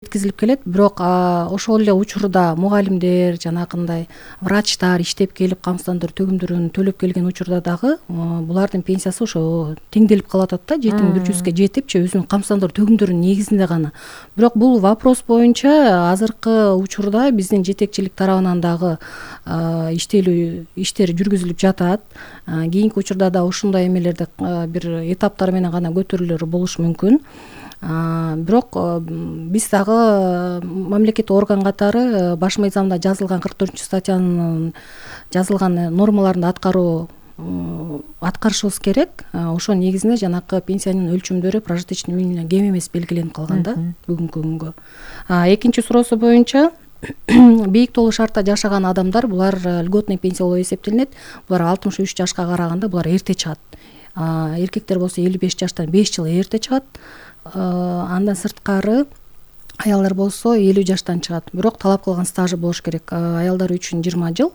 жеткизилип келет. Бирок ошол эле учурда мугалимдер, жанакындай врачтар иштеп келип камсыздандыруу төгүмдөрүн төлөп келген учурда дагы булардын пенсиясы ошо теңделип калып атат да, жетим бюджетке жетипчи өзүнүн камсыздандыруу төгүмдөрүнүн негизинде гана. Бирок бул вопрос боюнча азыркы учурда биздин жетекчилик тарабынан дагы иштелүү иштери жүргүзүлүп жатат. Кийинки учурда да ушундай эмелерди бир этаптар менен гана көтөрүлөр болушу мүмкүн. Бирок биз дагы мамлекеттик орган катары баш мыйзамда жазылган 44-статьянын жазылган нормаларын аткарышыбыз керек. Ошонун негизинде жанакы пенсиянын өлчөмдөрү прожиточный минимумдан кем эмес белгиленип калган да бүгүнкү күнгө. Экинчи суроосу боюнча бийик толуу шартта жашаган адамдар булар льготный пенсия болуп эсептелинет. Булар 63 жашка караганда булар эрте чыгат. Эркектер болсо 55 жаштан 5 жыл эрте чыгат. Андан сырткары аялдар болсо 50 жаштан чыгат. Бирок талап кылган стажы болуш керек. Аялдар үчүн 20 жыл,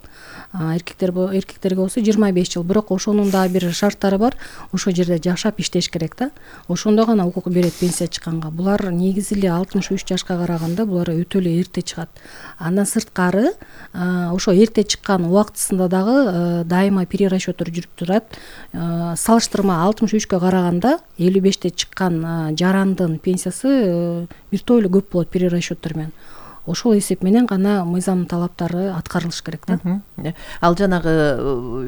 эркектерге болсо 25 жыл. Бирок ошонун да бир шарттары бар. Ошол жерде жашап иштеш керек да. Ошондо гана укук берет пенсия чыкканга. Булар негизи эле 63 жашка караганда булар өтө эле эрте чыгат. Андан сырткары ошо эрте чыккан убактысында дагы дайыма перерасчеттор жүрүп турат. Салыштырма 63кө караганда 55те чыккан жарандын пенсиясы бир эле көп болот перерасчеттор менен. Ошол эсеп менен гана мыйзамдын талаптары аткарылыш керек да. Ал жанагы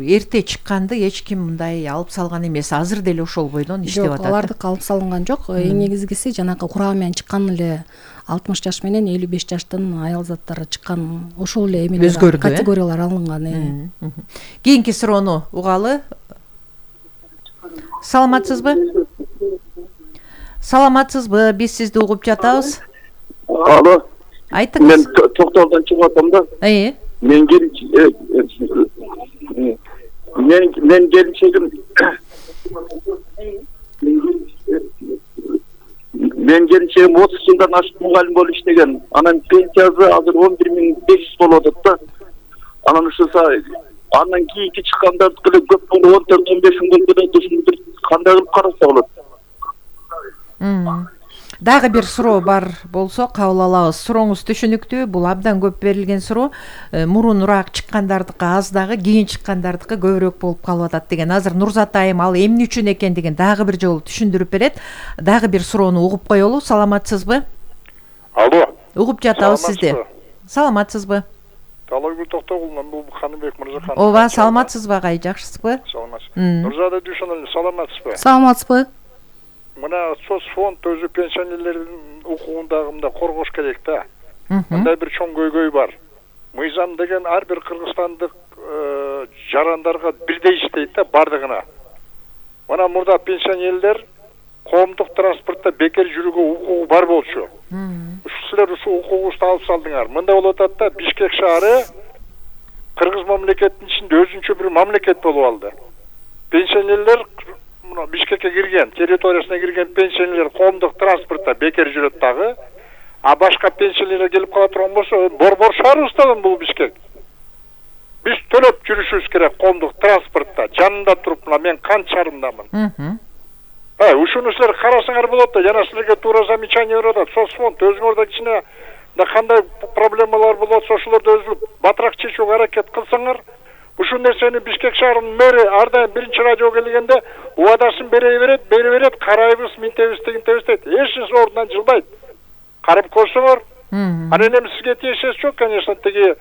эрте чыкканды эч ким мындай алып салган эмес. Азыр деле ошол бойдон иштеп атат. Жок, алардык алып салынган жок. Эң негизгиси жанагы курагы менен чыккан эле 60 жаш менен 55 жаштын аял заттары чыккан ошол эле эмелер категориялар алынган. Кийинки суроону угалы. Саламатсызбы? Саламатсызбы? Биз сизди угуп жатабыз. Алло. Айтыңыз. Мен токтолдон чыгып атам да. Мен келишегим мен келишегим 30 жылдан ашык мугалим болуп иштеген. Анан пенсиясы азыр 11.500 болуп атат да. Анан ушуса андан кийинки чыккандардыкы эле көп болуп 14-15 миң болуп ушуну бир кандай кылып караса болот? Дагы бир суроо бар болсо кабыл алабыз. Сурооңуз түшүнүктүү. Бул абдан көп берилген суроо. Мурунураак чыккандардыкы аз дагы, кийин чыккандардыкы көбүрөөк болуп калып атат деген. Азыр Нурзат айым ал эмне үчүн экендигин дагы бир жолу түшүндүрүп берет. Дагы бир суроону угуп коелу. Саламатсызбы? Алло. Угуп жатабыз сизди. Саламатсызбы? Талайгүл Токтогулунан бул Каныбек Мырзахан. Ооба, саламатсызбы агай, жакшысызбы? Саламатсыз. Нурзада Дүйшөнөлү, саламатсызбы? Саламатсызбы? Мына соцфонд өзү пенсионерлердин укугундагы мындай коргош керек да. Мындай бир чоң көйгөй бар. Мыйзам деген ар бир кыргызстандык жарандарга бирдей иштейт да бардыгына. Мына мурда пенсионерлер коомдук транспортто бекер жүрүүгө укугу бар болчу. Силер ушул укугуңузду алып салдыңар. Мындай болуп атат да, Бишкек шаары кыргыз мамлекетинин ичинде өзүнчө бир мамлекет болуп алды. Пенсионерлер Бишкекке кирген, территориясына кирген пенсионерлер коомдук транспортто бекер жүрөт дагы. А башка пенсионерлер келип кала турган болсо, борбор шаарыбызда бул Бишкек. Биз төлөп жүрүшүбүз керек коомдук транспортто. Жанында туруп, мына мен канчарымдамын. Ушуну силер карасаңар болот да, жана силерге туура замечание берип атат. Соцфонд өзүңөрдө кичине кандай проблемалар болот, ошолорду өзү батыраак чечүүгө аракет кылсаңар. Ушул нерсени Бишкек шаарынын мэри ар дайым биринчи радиого келгенде убадасын бере берет, карайбыз, минтебиз, тигинтебиз дейт. Эч ордунан жылбайт. Карап көрсөңөр. Анан эми сизге тиешеси жок, конечно, тиги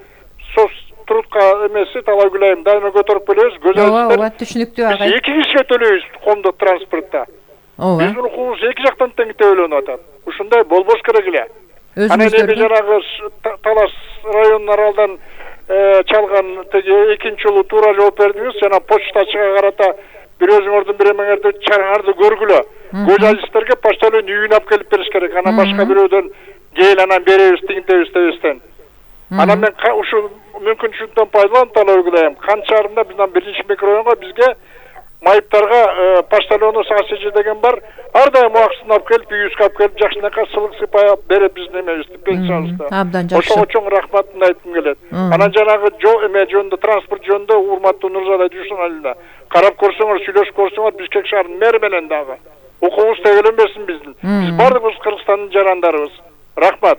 соц трудка эмеси Талайгүл айым дайыма көтөрүп келебиз. Ооба, түшүнүктүү агай. Биз 2 кишиге төлөйбүз коомдук транспортто. Биздин укугубуз эки жактан тең төлөнүп атат. Ушундай болбош керек эле. Анан эми жанагы Талас районунун аралдан чалган теги экинчи жолу туура жооп бердиңиз. Жана почтачыга карата бир өзүңөрдүн бир эмеңерди чараңарды көргүлө. Көжалисттерге почтальон үйүнө алып келип бериш керек. Анан башка бирөөдөн кел анан беребиз, тигинтебиз дебестен. Анан мен ушул мүмкүнчүлүктөн пайдаланып Талайгүл айым, Канчарымда биздин биринчи микрорайонго бизге майыптарга почтальону САСЖ деген бар. Ар дайым убактысын алып келип, үйүбүзгө алып келип, жакшынакай сылык сыйпай берет биздин эмебизди, пенсиябызды. Абдан жакшы. Ошого чоң рахматымды айткым келет. Анан жанагы жөнүндө, транспорт жөнүндө урматтуу Нурзада Дүйшөнөлүнө карап көрсөңөр, сүйлөшүп көрсөңөр, Бишкек шаарынын мэри менен дагы укугубуз тегеленбесин биздин. Биз бардыгыбыз Кыргызстандын жарандарыбыз. Рахмат.